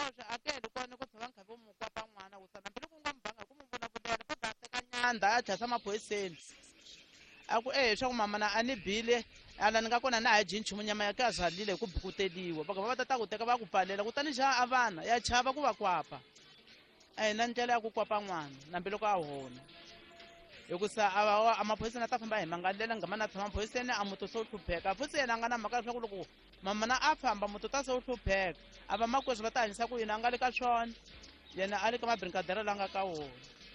Swiboxo a ke heli kona ku tshova nkhavi wu mu kwapa n'wana wu sana hambiloko u nga mu banga hi ku mu vulavulela va ta teka nyandha a tlhasa maphoyiseni a ku e swa ku mamana a ni bile ala ni nga kona na ha dyi nchumu nyama ya ka zalile hi ku bukuteliwa va va ta ta ku teka va ku pfalela kutani xa a vana ya chava ku va kwapa a hi na ndlela ya ku kwapa n'wana nambiloko a hona hikusa a maphoyiseni a ta famba hi mangalela ngama na tshama maphoyiseni a muti se wu hlupheka futhi yena a nga na mhaka leswaku loko mamana a famba muti ta se wu hlupheka a va makwerhu va ta hanyisa ku yini a nga le ka swona yena a le ka mabrinkadera la nga ka wona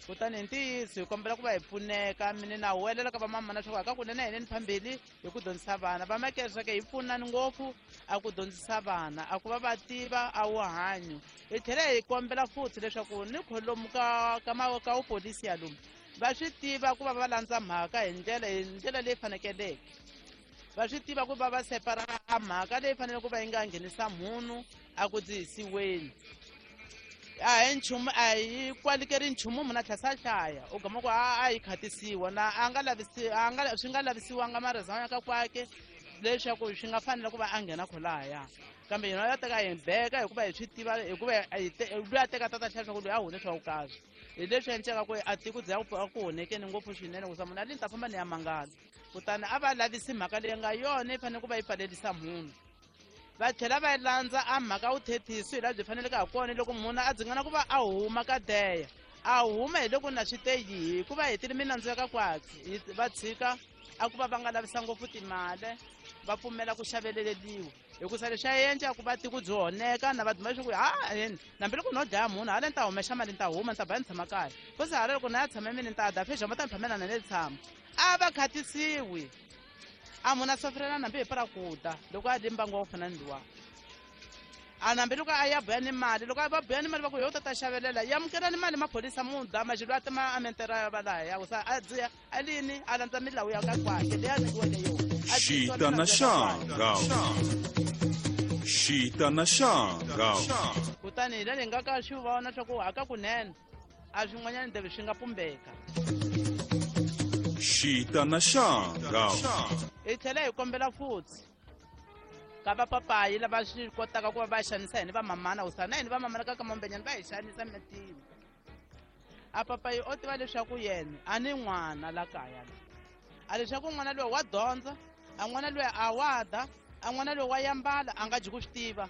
kutani hi ntiyiso hi kombela ku va hi pfuneka mine na huwelela ka vamamana leswaku aka kunene hi neni phambili hi ku dyondzisa vana va makereke hi pfunani ngopfu a ku dyondzisa vana a ku va va tiva a wu hanyo hi tlhela hi kombela futhi leswaku ni kholomu ka ka ka wupolisi ya lomu va swi tiva ku va va landza mhaka hi ndlela hi ndlela leyi fanekeleke va swi tiva ku va va separa a mhaka leyi fanele ku va yi nga nghenisa munhu a ku dzihisiweni a hi nchumu a hi kwalikeri nchumu munhu a tlhela hlaya u gama ku a yi khatisiwa na a nga lavisi a nga swi nga lavisiwanga marizana ka kwake leswaku swi nga fanela ku va a nghena kholaya kambe yena ya teka hi beka hikuva hi swi tiva hikuva loyi a teka tata hlaya swa ku loyi a hune swa vukazi hi leswi endleka ku a tiko bya ku honekeni ngopfu swinene ku sa munhu a li ni ta famba ni ya mangala kutani a va lavisi mhaka leyi nga yona yi fanele ku va yi pfalelisa munhu va tlhela va landza a mhaka vuthethisi hi laha byi faneleke ha kona loko munhu a dzingana ku va a huma ka deya a huma hi loko na swi te yihi hikuva hetile minandzu ya ka kwatsi va tshika a ku va va nga lavisa ngopfu timali va pfumela ku xaveleleliwa hikusa leswi a endla ku va tiko byi honeka na va duma leswaku ha yini hambiloko no dlaya munhu hala ni ta humexa mali ni ta huma ni ta ba ni tshama kaya futhi hala loko na ya tshama mini ni ta da fexama ta ni phamela na ni tshama a va khatisiwi a munhu a sofirela nambi hi para ku ta loko a li mbangu wa ku fana ni luwa a nambi loko a ya buya ni mali loko a va buya ni mali va ku yo ta ta xavelela yamukelani mali maphorisa muda maxilo a tima a mentera ya va laha ya ku sa a dziya a lini a landza milawu ya ka kwakhe leyi a nyikiweke yona Xita na xanga. Xita na xanga. Kutani hi le nga ka swi vona swa ku haka kunene a swin'wanyana ndebe swi nga pumbeka. Xita na xanga. Hi tlhela hi kombela futhi ka vapapayi lava swi kotaka ku va va xanisa hini vamamana ku sana hini vamamana ka kamambenyana va hi xanisa mitini a papayi o tiva leswaku yena a ni n'wana la kaya la a leswaku n'wana loyi wa dyondza a n'wana loyi a wa da a n'wana loyi wa yambala a nga dyi ku swi tiva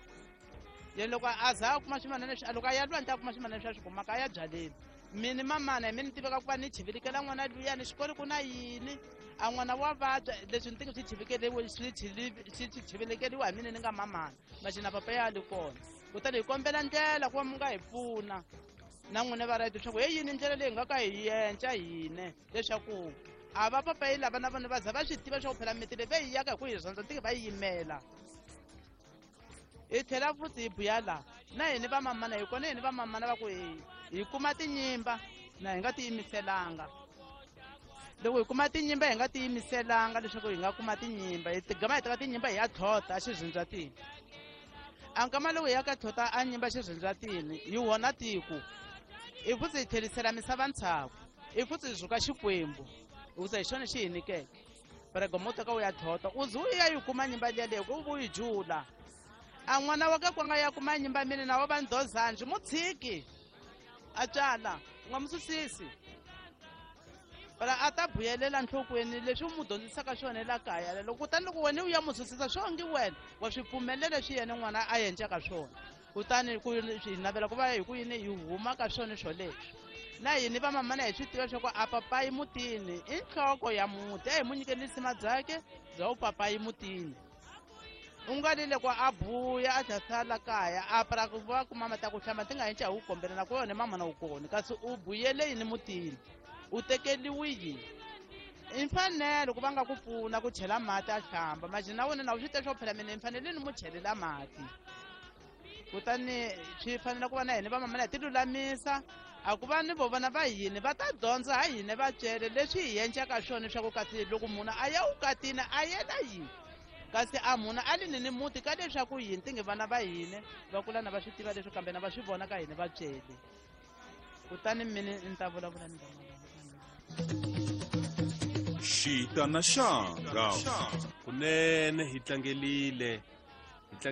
yena loko a za a kuma swimana leswi loko a ya lwandle a kuma swimana leswi a swi kumaka a ya byaleni mini mamana hi mi ni tiveka ku va ni chivilikela n'wana luyani xikolo ku na yini a n'wana wa vabya leswi ni tingi swi chivikeliwe swi swi chivilikeliwa hi mina ni nga mamana maxina papa ya li kona kutani hi kombela ndlela ku va mi nga hi pfuna na n'wina va right leswaku he yini ndlela leyi nga ka hi yenca hine leswaku a va papayi lava na vona va za va swi tiva leswaku phela miti leyi va yi yaka hi ku hi rhandza tike va yi yimela hi tlhela futhi hi buya laha na hini vamamana hi kona hini vamamana va ku hi kuma tinyimba na hi nga tiyimiselanga loko hi kuma tinyimba hi nga tiyimiselanga leswaku hi nga kuma tinyimba hi tigama hi teka tinyimba hi ya tlhota a xirhindzatini a nkama loko hi ya ka tlhota a nyimba xirhindzatini hi wona tiko hi futhi hi tlherisela misava ntshaku hi futhi hi zuka xikwembu hikusa hi xona xi hi nyikeke pregomo teka u ya tlhota u ze u ya yi kuma nyimba liya leyi ku u yi jula a n'wana wa ka kwanga ya kuma nyimba mina na wa va ndhozanji mu tshiki a tswala u nga mu susisi phela a ta buyelela nhlokweni leswi u mu dyondzisaka swona la kaya loko kutani loko wena u ya mu susisa swo ngi wena wa swi pfumelela leswi yena n'wana a endlaka swona kutani ku hi navela ku va hi ku yini hi huma ka swona swoleswo na hini vamamana hi swi tiva leswaku a papayi mutini i nhloko ya muti a hi mu nyikeni risima byakhe bya u papayi mutini u nga li loko a buya a tlhasala kaya a pra ku va kuma mati ya ku hlamba ti nga henca hi wu kombela na ku yona mamana wu kona kasi u buyele yini mutini u tekeliwi yini i mfanelo ku va nga ku pfuna ku chela mati a hlamba manje na wena na u swi tiva swa ku phela mina ni fanele ni mu chelela mati kutani swi fanele ku va na hina vamamana hi ti lulamisa a ku va ni vo vana va hina va ta dyondza ha hina vatswele leswi hi endlaka swona swa ku kasi loko munhu a ya vukatini a yela yini kasi a munhu a li ni ni muti ka leswaku yini ti nge vana va hina va kula na va swi tiva leswi kambe na va swi vona ka hina vatswele kutani mini ni ta vulavula ni Xita na xanga. Kunene hi tlangelile hi tlange